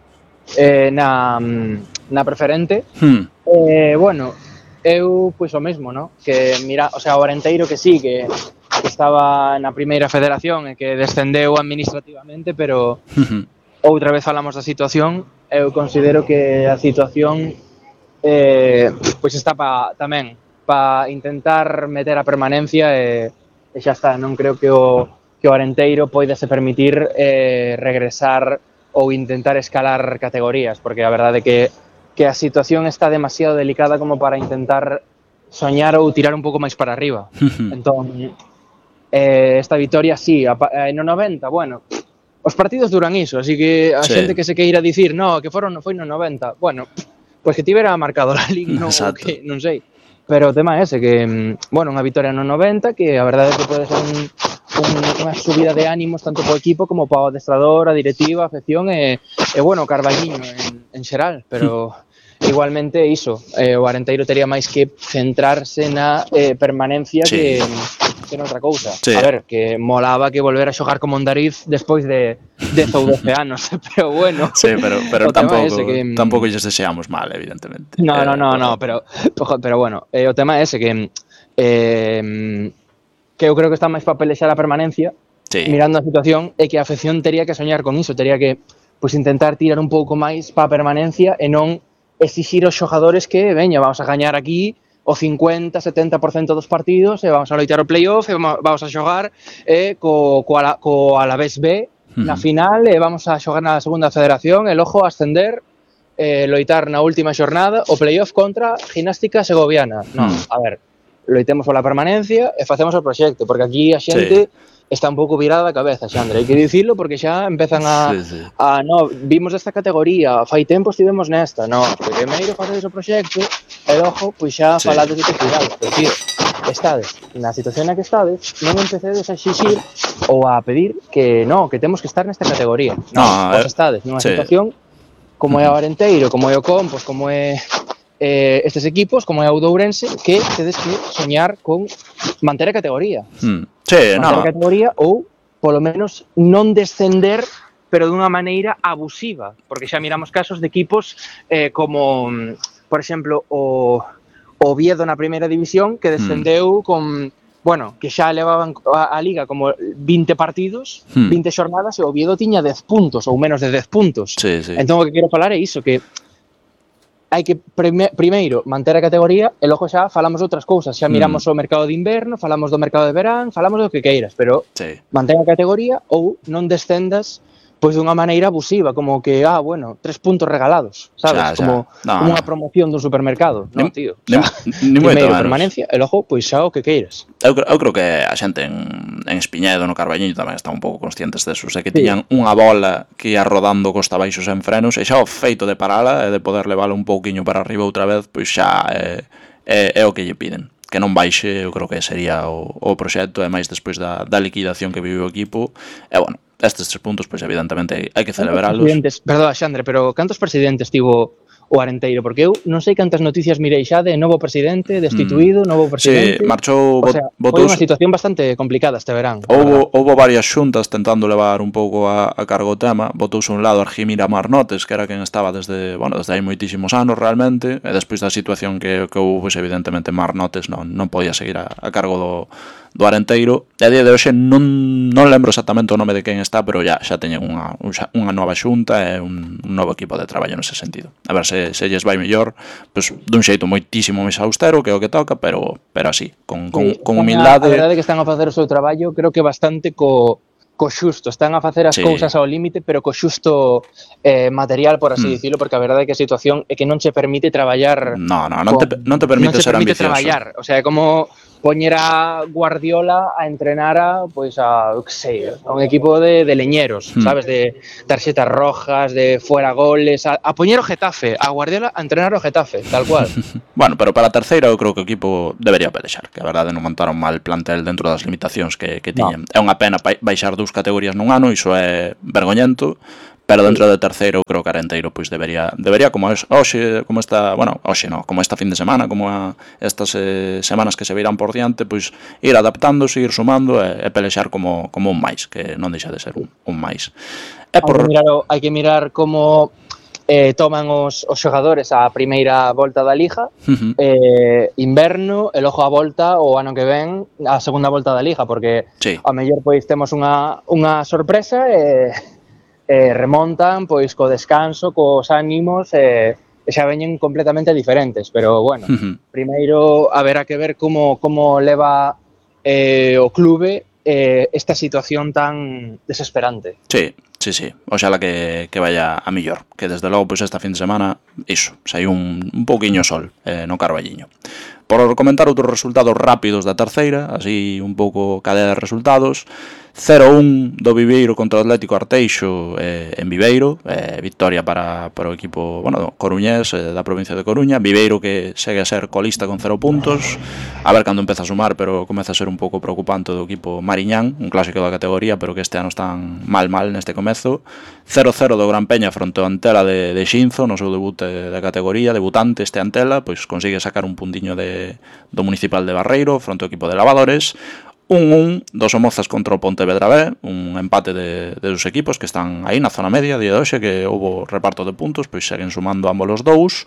Speaker 2: eh, na, na preferente.
Speaker 1: Hmm.
Speaker 2: Eh, bueno, eu, pois o mesmo, no? Que mira, o sea, o Arenteiro que sí, que, que estaba na primeira federación e que descendeu administrativamente, pero
Speaker 1: Uh-huh.
Speaker 2: outra vez falamos da situación, eu considero que a situación eh, pois está pa, tamén para intentar meter a permanencia e, e xa está, non creo que o, que o Arenteiro poidase permitir eh, regresar ou intentar escalar categorías, porque a verdade é que que a situación está demasiado delicada como para intentar soñar ou tirar un pouco máis para arriba. Entón, eh, esta vitoria, sí, a, eh, no noventa, bueno, os partidos duran iso, así que a
Speaker 1: sí.
Speaker 2: xente que se queira dicir, no, que foron foi no noventa, bueno, pois que tivera marcado la Liga, no, que, non sei. Pero o tema é ese, que, bueno, unha vitoria no noventa, que a verdade é que pode ser un, un, unha subida de ánimos tanto para o equipo como para o adestrador, a directiva, a afección e, e bueno, o Carballiño en, en xeral, pero igualmente iso, eh, o Arenteiro tería máis que centrarse na eh, permanencia sí. que, que noutra cousa. Sí. A ver, que molaba que volver a xogar como Mondariz despois de dez ou doce anos, pero bueno.
Speaker 1: Sí, pero, pero tampouco, que, tampouco lles deseamos mal, evidentemente.
Speaker 2: No, no, no, no, pero, pero bueno, eh, o tema é ese, que eh, que eu creo que está máis para pelexar a permanencia, sí. mirando a situación, e que a afección tería que soñar con iso, tería que pues, intentar tirar un pouco máis para a permanencia e non exixir aos xogadores que, veña, vamos a gañar aquí o cincuenta, setenta por cento dos partidos e vamos a loitar o playoff e vamos a xogar eh, co, co, ala, co Alavés B na final e vamos a xogar na segunda federación e logo ascender, eh, loitar na última xornada o playoff contra Gimnástica Segoviana. Non, a ver, loitemos pola permanencia e facemos o proxecto, porque aquí a xente... Sí. Está un pouco virada a cabeza, Xandre, hai que dicilo porque xa empezan a, sí, sí. a no, vimos desta categoría, fai tempo estivemos nesta, no, primeiro facedes o proxecto e logo, pois xa sí. falades de que cuidado, pero tío, estades na situación na que estades, non empecedes a exixir ou a pedir que no, que temos que estar nesta categoría, no, no eh, estades nunha sí. situación como é o Arenteiro, como é o Compos, como é eh, estes equipos, como é o Ourense, que tedes que soñar con manter a categoría.
Speaker 1: Hmm. Sí,
Speaker 2: manter
Speaker 1: no.
Speaker 2: a categoría ou, polo menos, non descender, pero dunha maneira abusiva, porque xa miramos casos de equipos eh, como, por exemplo, o, o Oviedo na primeira división, que descendeu hmm. con, bueno, que xa levaban a, a Liga como vinte partidos, hmm. vinte xornadas, e o Oviedo tiña dez puntos, ou menos de dez puntos.
Speaker 1: Sí, sí.
Speaker 2: Entón, o que quero falar é iso, que hai que prime, primeiro manter a categoría e logo xa falamos de outras cousas, xa miramos mm. o mercado de inverno, falamos do mercado de verán, falamos do que queiras, pero
Speaker 1: sí.
Speaker 2: mantén a categoría ou non descendas pois dunha maneira abusiva, como que, ah, bueno, tres puntos regalados, sabes? Xa, xa. Como, no, como unha promoción dun supermercado, non, tío?
Speaker 1: Ni, ni
Speaker 2: primeiro permanencia e logo, pois xa o que queiras.
Speaker 1: Eu, eu creo que a xente en, en Espiñedo, no Carballiño, tamén están un pouco conscientes deso, é que sí. tiñan unha bola que ia rodando costa baixo sen frenos, e xa o feito de parala e de poder levála un pouquiño para arriba outra vez, pois xa é, é, é o que lle piden. Que non baixe, eu creo que sería o, o proxecto, e máis despois da, da liquidación que vive o equipo, e bueno, estes tres puntos, pois evidentemente hai que celebrarlos.
Speaker 2: Perdón, Xandre, pero cantos presidentes tivo o Arenteiro? Porque eu non sei cantas noticias mirei xa de novo presidente, destituído, mm. novo presidente...
Speaker 1: Sí, marchou...
Speaker 2: O sea, foi unha situación bastante complicada este verán.
Speaker 1: Houbo, houbo varias xuntas tentando levar un pouco a, a cargo o tema. Botouse un lado Argimira Marnotes, que era quen estaba desde, bueno, desde hai moitísimos anos realmente, e despois da situación que, que houve, pues, evidentemente Marnotes non, non podía seguir a, a cargo do, do Arenteiro. E a día de hoxe non, non lembro exactamente o nome de quen está, pero ya xa teñen unha, unha nova xunta e un, un novo equipo de traballo nese sentido. A ver se, se lles vai mellor, pues, dun xeito moitísimo máis austero, que é o que toca, pero, pero así, con, con,
Speaker 2: Sí,
Speaker 1: con humildade.
Speaker 2: A verdade é que están a facer o seu traballo, creo que bastante co, co xusto, están a facer as
Speaker 1: sí.
Speaker 2: cousas ao límite, pero co xusto eh, material, por así
Speaker 1: mm.
Speaker 2: dicilo, porque a verdade é que a situación é que non che permite traballar.
Speaker 1: No, no, non, con, te, non te permite non ser
Speaker 2: permite
Speaker 1: ambicioso.
Speaker 2: Traballar, o sea, é como poñer a Guardiola a entrenar a, pois a, que sei, a un equipo de, de leñeros, mm. sabes, de tarxetas rojas, de fuera goles, a, a poñer o Getafe, a Guardiola a entrenar o Getafe, tal cual.
Speaker 1: Bueno, pero para a terceira eu creo que o equipo debería pelexar, que a verdade non montaron mal plantel dentro das limitacións que, que tiñen. No. É unha pena baixar dous categorías nun ano, iso é vergoñento, pero dentro de terceiro eu creo que Arenteiro pois debería debería como es, hoxe, como esta, bueno, hoxe no, como esta fin de semana, como a, estas eh, semanas que se virán por diante, pois ir adaptándose, ir sumando e, e pelexar como como un máis, que non deixa de ser un, un máis.
Speaker 2: É por... hai, que mirar, hai que mirar como eh, toman os, os xogadores a primeira volta da Liga, uh-huh. eh, inverno, e logo a volta o ano que ven a segunda volta da Liga, porque sí. a mellor pois temos unha, unha sorpresa e, e remontan pois co descanso, cos ánimos e, e xa veñen completamente diferentes, pero bueno, uh-huh. primeiro haberá que ver como, como leva eh, o clube eh, esta situación tan desesperante.
Speaker 1: Sí. Sí, sí, oxala que, que vaya a millor, que desde logo pois esta fin de semana iso, sai un, un pouquiño sol eh, no Carballiño. Por comentar outros resultados rápidos da terceira, así un pouco cadea de resultados. cero un do Viveiro contra o Atlético Arteixo eh, en Viveiro, eh, victoria para, para o equipo, bueno, coruñés eh, da provincia de Coruña. Viveiro que segue a ser colista con cero puntos, a ver cando empeza a sumar, pero comeza a ser un pouco preocupante do equipo Mariñán, un clásico da categoría, pero que este ano están mal mal neste comezo. cero cero do Gran Peña fronte ao Antela de, de Xinzo, no seu debut de, da categoría, debutante este Antela, pois consigue sacar un puntiño de, do Municipal de Barreiro fronte ao equipo de Lavadores. un un dos Somozas contra o Pontevedra B, un empate de, de dos equipos que están aí na zona media, día de hoxe, que houve reparto de puntos, pois seguen sumando ambos os dous.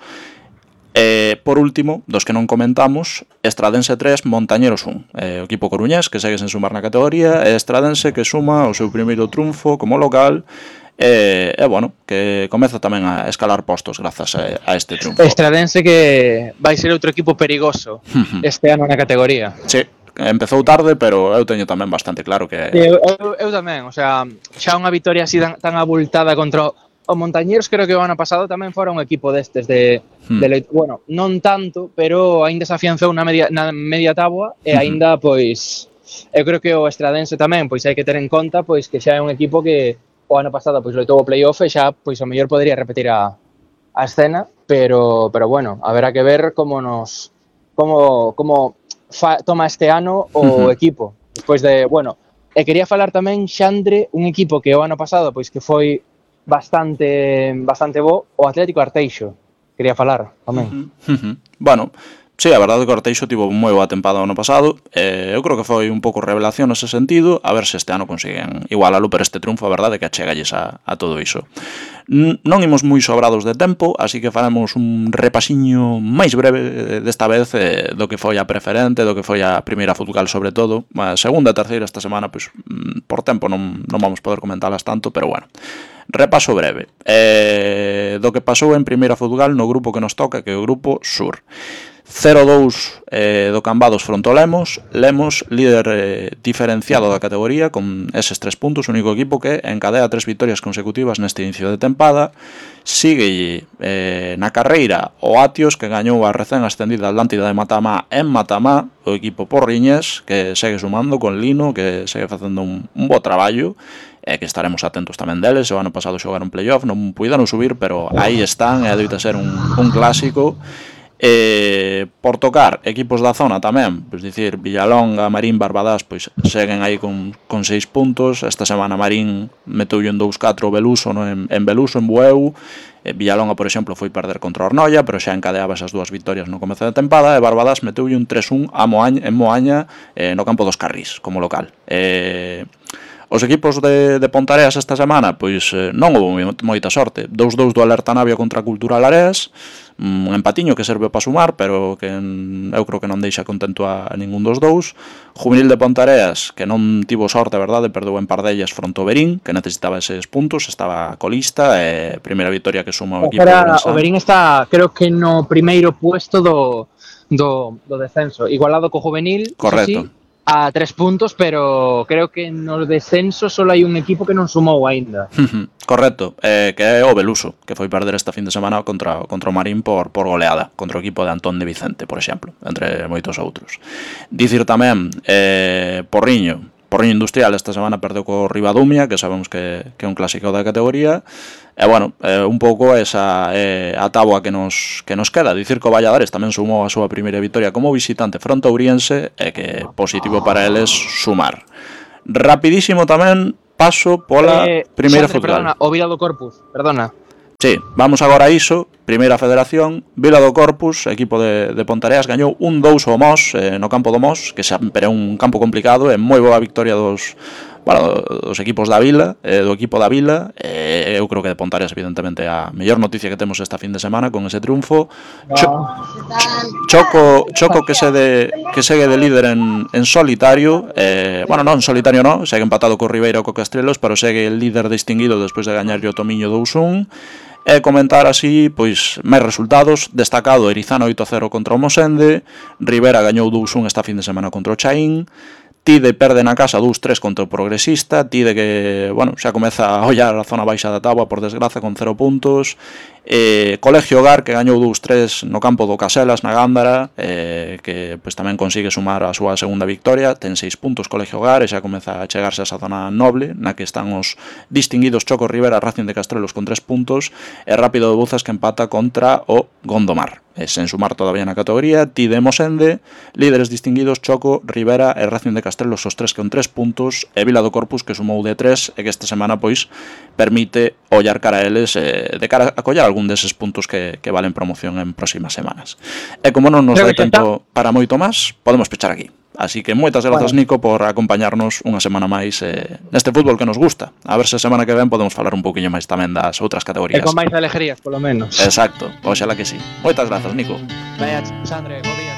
Speaker 1: E, por último, dos que non comentamos, Estradense tres, Montañeros un, eh, o equipo coruñés que segue sen sumar na categoría, e Estradense que suma o seu primeiro triunfo como local, e, e bueno, que comeza tamén a escalar postos grazas a, a este triunfo.
Speaker 2: Estradense que vai ser outro equipo perigoso este ano na categoría.
Speaker 1: Sí. Empezou tarde, pero eu teño tamén bastante claro que...
Speaker 2: Eu, eu, eu tamén, o sea, xa unha vitoria así tan, tan abultada contra o Montañeros, creo que o ano pasado tamén fora un equipo destes de, hmm. de bueno, non tanto, pero aínda se afianzou na media, na media táboa e aínda, pois, eu creo que o Estradense tamén, pois hai que ter en conta pois que xa é un equipo que o ano pasado pois loitou o playoff e xa, pois, o mellor podría repetir a, a escena, pero, pero bueno, haberá que ver como nos... como... como Fa, toma este ano o uh-huh. equipo despois de, bueno, e quería falar tamén Xandre, un equipo que o ano pasado pois que foi bastante bastante bo, o Atlético Arteixo quería falar tamén.
Speaker 1: Uh-huh. Uh-huh. Bueno, sí, a verdade é que o Arteixo tivo moi boa tempada o ano pasado, eh, eu creo que foi un pouco revelación nese sentido, a ver se este ano consiguen igualalo, pero este triunfo a verdade é que achegalles a, a todo iso. Non imos moi sobrados de tempo, así que faremos un repasiño máis breve desta vez eh, do que foi a preferente, do que foi a primeira futsal sobre todo. A segunda e terceira esta semana, pois, por tempo non, non vamos poder comentalas tanto, pero bueno. Repaso breve eh, do que pasou en primeira futsal no grupo que nos toca, que é o grupo Sur. cero dous eh, do Cambados fronte ao Lemos. Lemos, líder eh, diferenciado da categoría con eses tres puntos, único equipo que encadea tres vitorias consecutivas neste inicio de tempada. Sigue eh, na carreira o Atios, que gañou a recén ascendida Atlántida de Matamá en Matamá, o equipo porriñés, que segue sumando con Lino, que segue facendo un, un bo traballo, e que estaremos atentos tamén deles. O ano pasado xogaron playoff, non puideron subir, pero aí están, e adoita ser un, un clásico. Eh, por tocar equipos da zona tamén, pois dicir, Villalonga, Marín, Barbadás, pois seguen aí con, con seis puntos. Esta semana Marín meteulle en dous catro Beluso, no? en, en Beluso, en Bueu. eh, Villalonga, por exemplo, foi perder contra Ornoia, pero xa encadeaba esas dúas vitorias no comezo da tempada, e Barbadás meteulle un tres un a Moaña, en Moaña, eh, no campo dos Carrís, como local. eh, Os equipos de, de Pontareas esta semana, pois eh, non houve moita sorte. dous dous do Alerta Navia contra a Cultural Areas, un empatiño que serve para sumar, pero que eu creo que non deixa contento a, a ningún dos dous. Juvenil de Pontareas, que non tivo sorte, a verdade, perdeu en Pardellas fronte ao Verín, que necesitaba eses puntos, estaba colista, e primeira victoria que suma o equipo
Speaker 2: Era,
Speaker 1: de
Speaker 2: o Verín está, creo que no primeiro puesto do, do, do descenso, igualado co Juvenil.
Speaker 1: Correcto.
Speaker 2: Sí, a tres puntos, pero creo que no descenso só hai un equipo que non sumou aínda.
Speaker 1: Correcto, eh, que é o Beluso, que foi perder esta fin de semana contra, contra o Marín por, por goleada, contra o equipo de Antón de Vicente, por exemplo, entre moitos outros. Dicir tamén, eh, Porriño, Porriño Industrial esta semana perdeu co Ribadumia, que sabemos que, que é un clásico da categoría. E, bueno, eh, un pouco esa eh, a táboa que nos, que nos queda. Dicir que o Valladares tamén sumou a súa primeira vitoria como visitante fronte a Ouriense e que positivo para eles sumar. Rapidísimo tamén paso pola
Speaker 2: eh,
Speaker 1: primeira
Speaker 2: Xandre,
Speaker 1: futsal.
Speaker 2: Perdona, o Vila do Corpus, perdona.
Speaker 1: Sí, vamos agora a iso. Primeira federación, Vila do Corpus, equipo de, de Pontareas, gañou un dous ao Mos, eh, no campo do Mos, que sempre é un campo complicado, e moi boa victoria dos, bueno, dos equipos da Vila, eh, do equipo da Vila. Eh, eu creo que de Pontareas, evidentemente, a mellor noticia que temos esta fin de semana con ese triunfo. Cho, Choco, Choco que, se de, que segue de líder en, en solitario, eh, bueno, non en solitario non, segue empatado co Ribeira ou co Castrelos, pero segue el líder distinguido despois de gañar o Tomiño dous un. E comentar así, pois, máis resultados. Destacado, Erizano oito a cero contra o Mosende, Rivera gañou dous un esta fin de semana contra o Chaín, Tide perde na casa dous tres contra o Progresista, Tide que, bueno, xa comeza a ollar a zona baixa da táboa, por desgraza, con cero puntos. Eh, Colegio Hogar, que gañou dous tres no campo do Caselas, na Gándara, eh, que pois, tamén consigue sumar a súa segunda victoria, ten seis puntos Colegio Hogar, e xa comeza a chegarse a esa zona noble, na que están os distinguidos Choco Rivera, Racing de Castrelos con tres puntos, e Rápido de Bouzas, que empata contra o Gondomar. E sen sumar todavía na categoría, Tide e Mosende, líderes distinguidos Choco, Rivera e Racing de Castrelos, os tres con tres puntos, e Vila do Corpus, que sumou de tres, e que esta semana, pois, permite ollar cara a eles, eh, de cara a collar algún deses puntos que, que valen promoción en próximas semanas. E como non nos dá tempo para moito máis, podemos pechar aquí. Así que moitas grazas, bueno, Nico, por acompañarnos unha semana máis eh, neste fútbol que nos gusta. A ver se a semana que ven podemos falar un poquinho máis tamén das outras categorías.
Speaker 2: E con máis alegrías, polo menos.
Speaker 1: Exacto, oxalá que sí. Moitas grazas, Nico.
Speaker 2: Vaya, Xandre, bo día.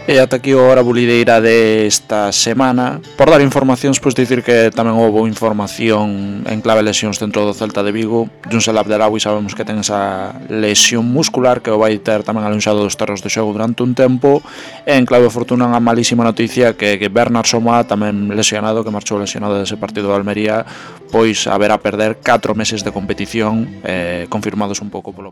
Speaker 1: E ata aquí a hora bulideira desta semana. Por dar informacións, pois dicir que tamén houve información en clave lesións dentro do Celta de Vigo. Junsel Abdelawi sabemos que ten esa lesión muscular que o vai ter tamén alonxado dos terros de xogo durante un tempo. E en clave fortuna unha malísima noticia que, que Bernard Somoa, tamén lesionado, que marchou lesionado dese partido de Almería, pois haberá perder catro meses de competición, eh, confirmados un pouco polo